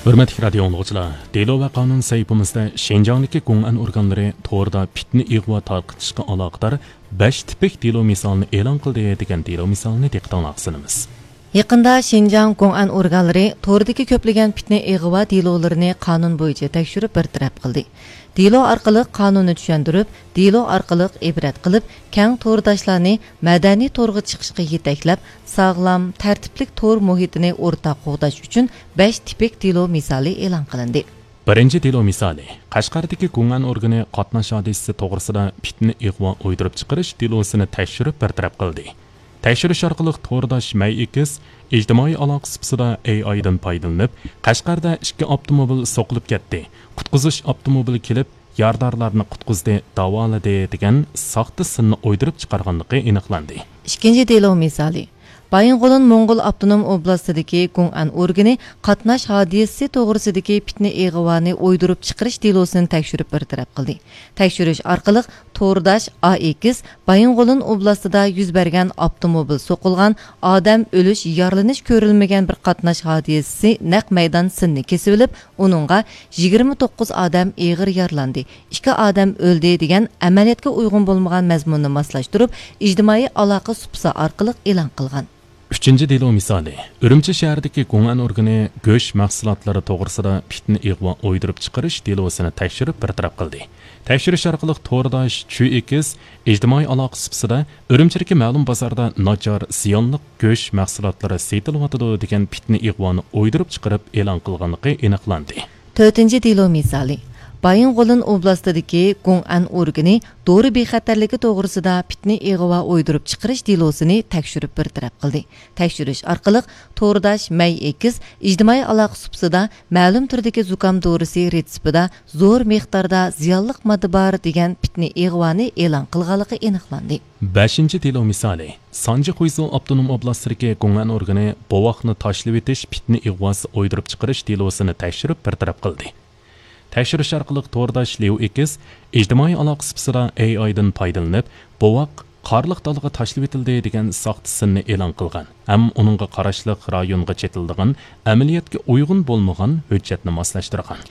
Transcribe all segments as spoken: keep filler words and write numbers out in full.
ھۆرمەتلىك رادىيو ئاڭلىغۇچىلار، دېلو ۋە قانۇن سەھىپىمىزدە شىنجاڭدىكى گوڭئەن ئورگانلىرى توردا پىتنە ئىغۋا تارقىتىشقا ئالاقىدار بەش تىپىك دېلو مىسالىنى ئېلان قىلدى دېگەن دېلو مىسالىنى دىققىتىڭلارغا سۇنىمىز. يېقىندا شىنجاڭ گوڭئەن ئورگانلىرى توردىكى كۆپلىگەن پىتنە ئىغۋا دېلولىرىنى قانۇن بويىچە تەكشۈرۈپ بىر تەرەپ قىلدى. دېلو ئارقىلىق قانۇننى چۈشەندۈرۈپ، دېلو ئارقىلىق ئىبرەت قىلىپ، كەڭ تورداشلارنى مەدەنىي تورغا چىقىشقا يېتەكلەپ، ساغلام، تەرتىپلىك تور مۇھىتىنى ئورتاق قوغداش ئۈچۈن بەش تىپىك دېلو مىسالى ئېلان قىلىندى. بىرىنچى دېلو مىسالى، قەشقەردىكى گوڭئەن ئورگىنى قاتناش ھادىسىسى توغرىسىدا پىتنە ئىغۋا ئويدۇرۇپ چىقىرىش دېلوسىنى تەكشۈرۈپ بىر تەرەپ قىلدى. تەكشۈرۈش ئارقىلىق تورداش مەي ئېكىس ئىجتىمائىي ئالاقە سۇپىسىدا ئېي ئايدىن پايدىلىنىپ، قەشقەردە ئىككى ئاپتوموبىل سوقۇلۇپ كەتتى، قۇتقۇزۇش ئاپتوموبىلى كېلىپ، يارىدارلارنى قۇتقۇزدى، داۋالىدى دېگەن ساختا سىننى ئويدۇرۇپ چىقارغانلىقى ئېنىقلاندى. ئىككىنچى دېلو مىسالى. بايىنغولىن موڭغۇل ئاپتونوم ئوبلاستىدىكى گوڭئەن ئورگىنى قاتناش ھادىسىسى توغرىسىدىكى پىتنە ئىغۋانى ئويدۇرۇپ چىقىرىش دېلوسىنى تەكشۈرۈپ بىر تەرەپ قىلدى. تەكشۈرۈش ئارقىلىق تورداش ئا ئېكىس بايىنغولىن ئوبلاستىدا يۈز بەرگەن ئاپتوموبىل سوقۇلغان، ئادەم ئۆلۈش، يارىلىنىش كۆرۈلمىگەن بىر قاتناش ھادىسىسى نەق مەيدان سىننى كېسىۋېلىپ، ئۇنىڭغا يىگىرمە توققۇز ئادەم ئېغىر يارىلاندى، ئىككى ئادەم ئۆلدى دېگەن ئەمەلىيەتكە ئۇيغۇن بولمىغان مەزمۇننى ماسلاشتۇرۇپ، ئىجتىمائىي ئالاقە سۇپىسى ئارقىلىق ئېلان قىلغان. ئۈچىنچى دېلو مىسالى، ئۈرۈمچى شەھىرىدىكى گوڭئەن ئورگىنى گۆش مەھسۇلاتلىرى توغرىسىدا پىتنە ئىغۋا ئويدۇرۇپ چىقىرىش دېلوسىنى تەكشۈرۈپ بىر تەرەپ قىلدى. تەكشۈرۈش ئارقىلىق تورداش چۈ ئېكىس ئىجتىمائىي ئالاقە سۇپىسىدا ئۈرۈمچىدىكى مەلۇم بازاردا ناچار، زىيانلىق گۆش مەھسۇلاتلىرى سېتىلىۋاتىدۇ دېگەن پىتنە ئىغۋانى ئويدۇرۇپ چىقىرىپ ئېلان قىلغانلىقى ئېنىقلاندى. تۆتىنچى دېلو مىسالى. بايىنغولىن ئوبلاستىدىكى گوڭئەن ئورگىنى دورا بىخەتەرلىكى توغرىسىدا پىتنە ئىغۋا ئويدۇرۇپ چىقىرىش دېلوسىنى تەكشۈرۈپ بىر تەرەپ قىلدى. تەكشۈرۈش ئارقىلىق تورداش مەي ئېكىس ئىجتىمائىي ئالاقە سۇپىسىدا مەلۇم تۈردىكى زۇكام دورىسى رېتسېپىدا زور مىقداردا زىيانلىق ماددا بار دېگەن پىتنە ئىغۋانى ئېلان قىلغانلىقى ئېنىقلاندى. بەشىنچى دېلو مىسالى. سانجى خۇيزۇ ئاپتونوم ئوبلاستىدىكى گوڭئەن ئورگىنى بوۋاقنى تاشلىۋېتىش پىتنە ئىغۋاسى ئويدۇرۇپ چىقىرىش دېلوسىنى تەكشۈرۈپ بىر تەرەپ قىلدى. تەكشۈرۈش ئارقىلىق تورداش ليۇ ئېكىس ئىجتىمائىي ئالاقە سۇپىسىدا ئېي ئايدىن پايدىلىنىپ، بوۋاق قارلىق دالىغا تاشلىۋېتىلدى دېگەن ساختا سىننى ئېلان قىلغان ھەم ئۇنىڭغا قاراشلىق رايونغا چېتىلىدىغان ئەمەلىيەتكە ئۇيغۇن بولمىغان ھۆججەتنى ماسلاشتۇرغان.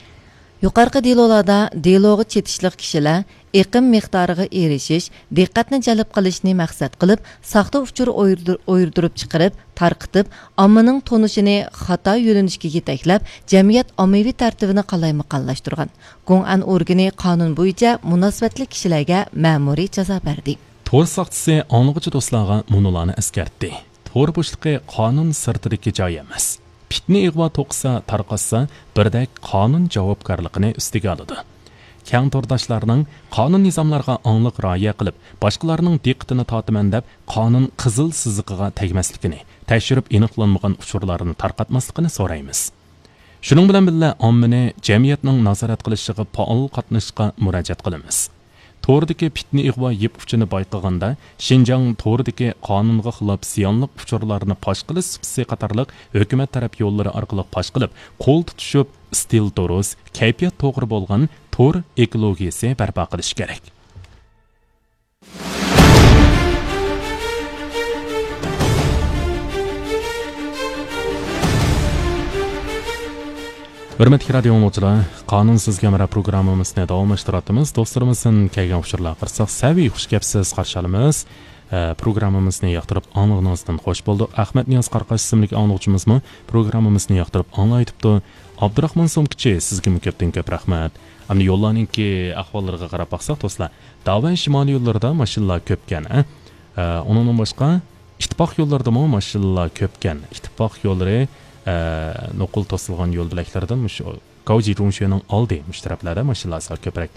يۇقىرىقى دېلولاردا دېلوغا چېتىشلىق كىشىلەر ئېقىم مىقدارىغا ئېرىشىش، دىققەتنى جەلپ قىلىشنى مەقسەت قىلىپ، ساختا ئۇچۇر ئويدۇر-، ئويدۇرۇپ چىقىرىپ، تارقىتىپ، ئاممىنىڭ تونۇشىنى خاتا يۆنىلىشكە يېتەكلەپ، جەمئىيەت ئاممىۋى تەرتىپىنى قالايمىقانلاشتۇرغان. گوڭئەن ئورگىنى قانۇن بويىچە مۇناسىۋەتلىك كىشىلەرگە مەمۇرىي جازا بەردى. تور ساقچىسى ئاڭلىغۇچى دوستلارغا مۇنۇلارنى ئەسكەرتتى. تور بوشلۇقى قانۇن سىرتىدىكى جاي ئەمەس. پىتنە ئىغۋا توقۇسا، تارقاتسا، بىردەك قانۇن جاۋابكارلىقىنى ئۈستىگە ئالىدۇ. كەڭ تورداشلارنىڭ قانۇن نىزاملارغا ئاڭلىق رىئايە قىلىپ، باشقىلارنىڭ دىققىتىنى تارتىمەن دەپ، قانۇن قىزىل سىزىقىغا تەگمەسلىكىنى، تەكشۈرۈپ ئېنىقلانمىغان ئۇچۇرلارنى تارقاتماسلىقىنى سورايمىز. شۇنىڭ بىلەن بىللە، ئاممىنى جەمئىيەتنىڭ نازارەت قىلىشىغا پائال قاتنىشىشقا مۇراجىئەت قىلىمىز. توردىكى پىتنە ئىغۋا يىپ ئۇچىنى بايقىغاندا، شىنجاڭ توردىكى قانۇنغا خىلاپ زىيانلىق ئۇچۇرلارنى پاش قىلىش سۇپىسى قاتارلىق ھۆكۈمەت تەرەپ يوللىرى ئارقىلىق پاش قىلىپ، قول تۇتۇشۇپ، ئىستىل دۇرۇس، كەيپىيات توغرا بولغان تور ئېكولوگىيىسى بەرپا قىلىش كېرەك. ھۆرمەتلىك رادىيو ئاڭلىغۇچىلار، قانۇن سىزگە ھەمراھ پروگراممىمىزنى داۋاملاشتۇرۇۋاتىمىز. دوستلىرىمىزدىن كەلگەن ئۇچۇرلارغا قارىساق، سەۋىي خۇش كەپسىز قارشى ئالىمىز. ئە، پروگراممىمىزنى ياقتۇرۇپ ئاڭلىغىنىڭىزدىن خوش بولدۇق. ئەخمەت نىياز قاراقاش ئىسىملىك ئاڭلىغۇچىمىزمۇ پروگراممىمىزنى ياقتۇرۇپ ئاڭلايتىپتۇ. ئابدۇراخمان سومكىچى، سىزگىمۇ كۆپتىن كۆپ رەھمەت. ئەمدى يوللارنىڭكى ئەھۋاللىرىغا قاراپ باقساق، دوستلار، داۋەن شىمالىي يوللىرىدا ماشىنىلار كۆپكەن، ھە؟ ئە، ئۇنىڭدىن باشقا، ئىتتىپاق يوللىرىدىمۇ ماشىنىلار كۆپكەن. ئىتتىپاق يوللىرى، ئە، نوقۇل توسۇلغان يول بۆلەكلىرىدىن مۇشۇ گاۋجى جۇڭشۈنىڭ ئالدى مۇشۇ تەرەپلەردە ماشىنىلار سەل كۆپرەك.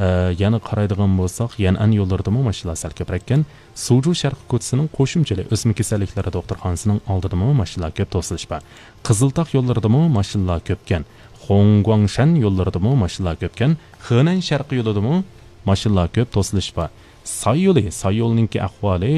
ئە، يەنە قارايدىغان بولساق، يەنئەن يوللىرىدىمۇ ماشىنىلار سەل كۆپرەككەن. سۇجۇ شەرقىي كوچىسىنىڭ قوشۇمچىلىق ئۆسمە كېسەللىكلىرى دوختۇرخانىسىنىڭ ئالدىدىمۇ ماشىنىلار كۆپ توسۇلۇش بار. قىزىلتاغ يوللىرىدىمۇ ماشىنىلار كۆپكەن. خۇڭگۇاڭشەن يوللىرىدىمۇ ماشىنىلار كۆپكەن. خېنەن شەرقىي يولىدىمۇ ماشىنىلار كۆپ توسۇلۇش بار. ساي يولى، ساي يولىنىڭكى ئەھۋالى